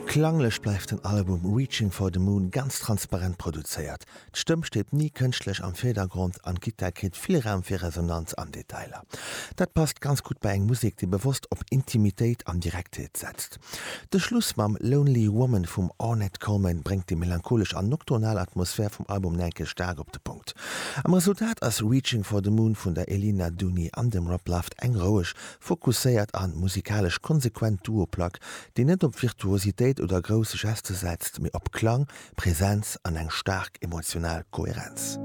Klanglech bleift den Album Reaching for the Moon ganz transparent produzéiert. D'Stëmm steet ni kënschtlech am Virdergrond an d'Gittar kritt vill Raum fir Resonanz an Detailer. Dat passt ganz gutt bei eng Musek, déi bewosst op Intimitéit an Direktheet setzt. De Schluss mam Lonely Woman vum Ornette Coleman bréngt déi melancholesch an nocturnal Atmosphär vum Album nach eng Kéier staark op de Punkt. Am Resultat ass Reaching for the Moon vun der Elina Duni an dem Rob Luft eng roueg, fokusséiert an musikalesch konsequent Duo-Plack, déi net op Virtuositéit oder grouss Geste setzt, mee op Klang, Präsenz an eng staark emotional Kohärenz.